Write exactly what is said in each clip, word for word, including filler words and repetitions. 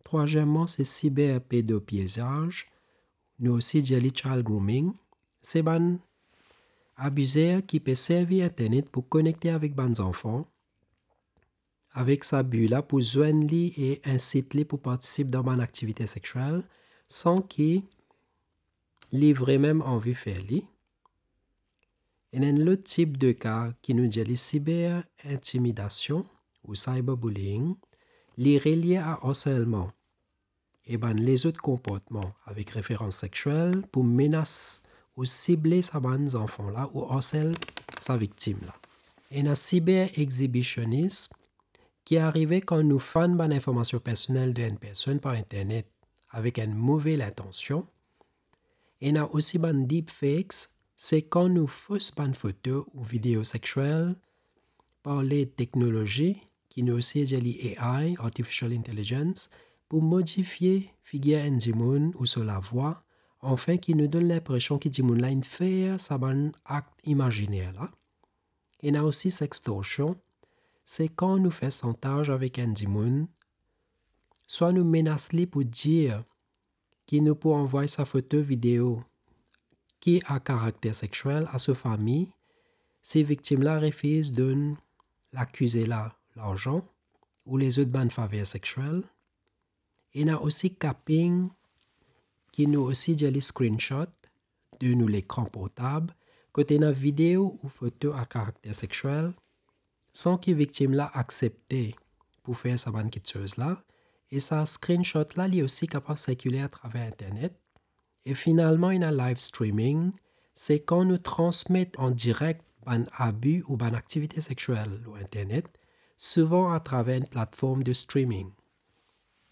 Trwazieman, se siber pedopiezaz, nou osi dir li child grooming. Se bann abizer ki pe servi internet pou konekte avek bann zanfan, avek sa bi la pou zwenn li e insit li pou partisip dan bann aktivite sekswel, san ki li vremem anvi fer li. Ena enn lot tip de ka ki nou dir li siber intimidasion ou cyberbullying, li relie a arselman e bann lezot konportman avek referans sekswel pou menas ou sible sa bann zanfan la ou arsel sa viktim la. Ena siber exhibitionism, ki arive kan nou fann bann informasion personel de enn personn par internet avek enn move lintansion. Ena osi bann deepfakes, se kan nou fos bann foto ou video sekswel par led teknolozi, ki nou osi dir li A I, artificial intelligence, pou modifie figir enn dimoun ou so lavwa, anfin ki nou donn linpresion ki dimoun la inn fer sa bann akt imaziner la. Ena osi sextorsion, se kan nou fer santaz avek enn dimoun, swa nou menas li pou dir ki nou pou anvway sa foto, video ki a karakter sekswel a so fami, si viktim la refiz donn lakize la larzan ou lezot bann faver sekswel. Ena osi capping, ki nou osi dir li screenshot de nou lekran portab, kot ena video ou foto a karakter sekswel, san ki viktim la aksepte pou fer sa bann kiksoz la, e sa screenshot la, li osi kapav sirkile atraver internet. E finalman, ena live streaming, se kan nou transmet an direk bann abi ou bann aktivite sekswel lor internet, souvan atraver enn platform de streaming.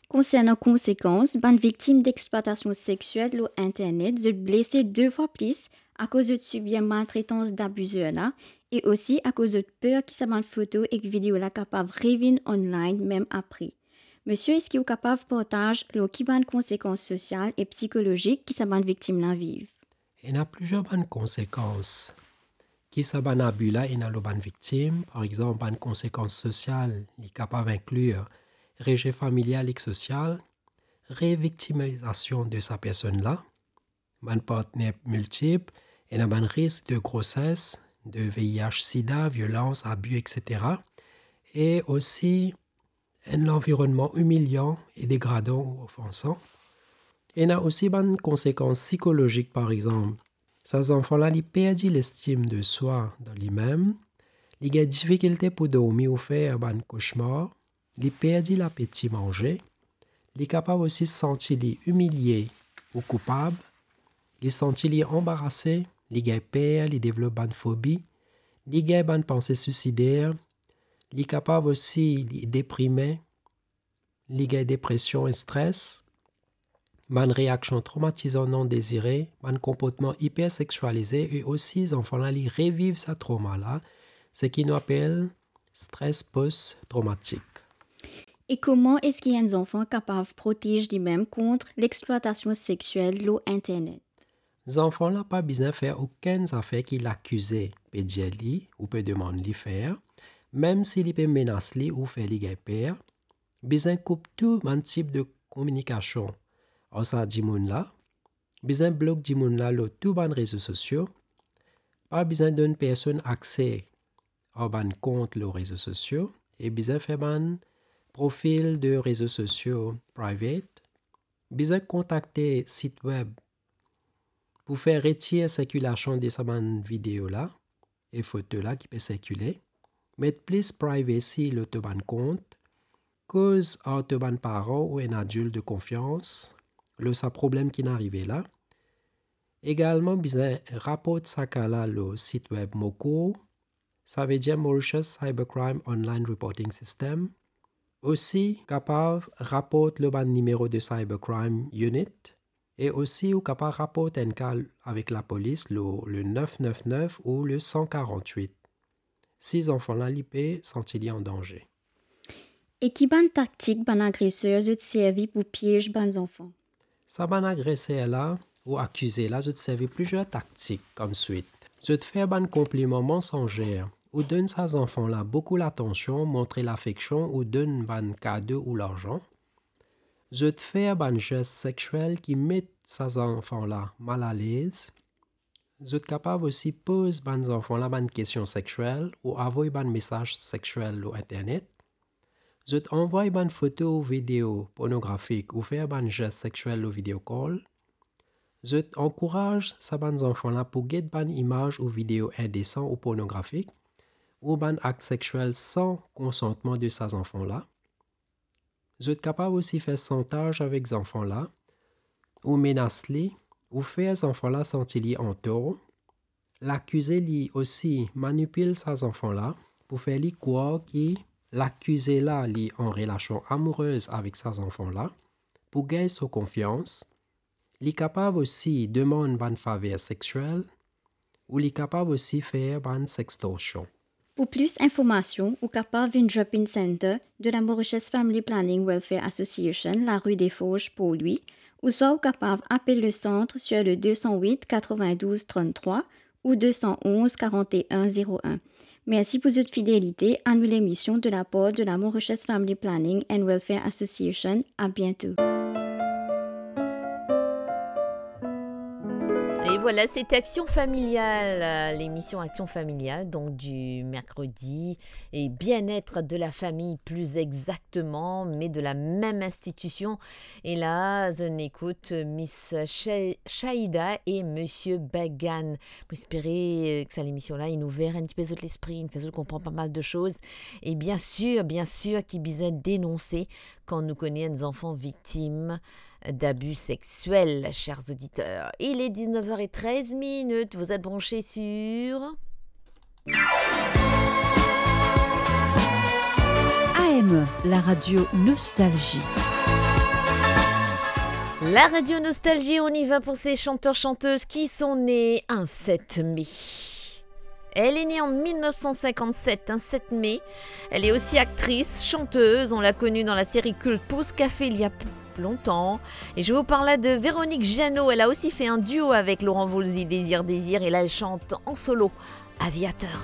Konsernan konsekans, bann viktim dexplwatasion sekswel lor internet, zot blese de fwa plis akoz zot sibir maltretans dabizer la, e osi akoz zot per ki sa bann foto ek video la kapav revinn online mem apre. Misie, eski ou kapav partaz lor ki bann konsekans sosial e psikolozik ki sa bann viktim la viv? Ena plizier bann konsekans ki sa bann abi la ena lor bann viktim. Par exanp, bann konsekans sosial, li kapav inklir rejet familial ek sosial, reviktimizasion de sa personn la, bann partner miltip, ena bann risk de groses, de V I H sida, violans, abi, et cetera. E osi enn lanvironnman imilian e degradan ou ofansan. Ena osi bann konsekans psikolozik, par exanp, sa zanfan la, li perdi lestim de swa dan limem, li gagn difikilte pou dormi ou fer bann koshmar, li perdi lapeti manze, li kapav osi santi li imilie ou koupab, li santi li anbarase, li gagn per, li devlop bann fobi, li gagn bann panse suisider, li kapav osi li deprime, li gagn depresion e stres, bann reaksion tromatizan non dezire, bann konportman ipersekswalize e osi zanfan la, li reviv sa troma la, seki nou apel stres post-tromatik. E kouma eski enn zanfan kapav protez limem kont lexplwatasion sekswel lor internet? Zanfan la pa bizin fer okenn zafer ki lakize pe dir li ou pe demann li fer, mem si li pe menas li ou fer li gagn per. Bizin koup tou bann tip de kominikasion ar sa dimoun la. Bizin blok dimoun la lor tou bann rezo sosio. Pa bizin donn personn akse ar bann kont lor rezo sosio e bizin fer bann profil de rezo sosio private. Bizin kontakte sit web pou fer retir sirkilasion de sa bann video la e foto la ki pe sirkile. Met plis privacy lor to bann kont. Koz ar to bann paran ou enn adilt de konfians lor sa problem ki'nn arive la. Egalman bizin raport sa ka la lor sit web MOCOR, savedir Mauritius Cybercrime Online Reporting System. Osi kapav raport lor bann nimero de Cybercrime Unit, e osi ou kapav raport enn ka avek lapolis lor le nef nef nef ou le san karant-wit, si zanfan la li pe santi li an danze. E ki bann taktik bann agreser zot servi pou piez bann zanfan? Sa bann agreser la ou akize la, zot servi plizier taktik koumswit. Zot fer bann konpliman mansanzer ou donn sa zanfan la boukou latansion, montre lafeksion ou donn bann kado ou larzan. Zot fer bann zes sexiel ki met sa zanfan la malalez. Zot kapav osi poz bann zanfan la bann kestion sexiel ou avoy bann mesaz sexiel lor internet. Zot anvoy bann foto ou video pornografik ou fer bann zes sexiel lor video call. Zot ankouraz sa bann zanfan la pou get bann imaz ou video indesan ou pornografik, ou bann akt sexiel san konsantman de sa zanfan la. Zot kapav osi fer santaz avek zanfan la, ou menas li, ou fer zanfan la santi li antor. Lakize li osi manipil sa zanfan la pou fer li krwar ki lakize la li an relasion amourez avek sa zanfan la, pou gagn so konfians. Li kapav osi demann bann faver sexiel, ou li kapav osi fer bann sextorsion. Pou plis informasion, ou kapav vinn Drop-in Center de la Mauritius Family Planning Welfare Association, la rue des Forges, Port-Louis, ouswa ou kapav apel le centre sur le deux cent huit quatre-vingt-douze trente-trois ou deux cent onze quarante et un zéro un. Mersi pou zot fidelite a nou lemision de la par de la Mauritius Family Planning and Welfare Association. À bientôt. Et voilà, c'était Action Familiale, euh, l'émission Action Familiale, donc du mercredi, et bien-être de la famille plus exactement, mais de la même institution. Et là, on écoute Miss Sha-, Shaïda et Monsieur Bagan. Mo espere, euh, ki sa lemision la, inn ouver enn tipe zot lespri, inn fer zot konpran pa mal de soz. E bien sir, bien sir ki bizin denonse kan nou kone enn zanfan viktim d'abus sexuels, chers auditeurs. Il est dix-neuf heures et treize minutes, vous êtes branchés sur A M E, la radio Nostalgie. La radio Nostalgie, on y va pour ces chanteurs-chanteuses qui sont nés un sept mai. Elle est née en mille neuf cent cinquante-sept, un sept mai. Elle est aussi actrice, chanteuse. On l'a connue dans la série culte Pause Café il y a p-, longtemps. Et je vous parle de Véronique Jeannot. Elle a aussi fait un duo avec Laurent Voulzy, Désir, Désir. Et là, elle chante en solo, Aviateur.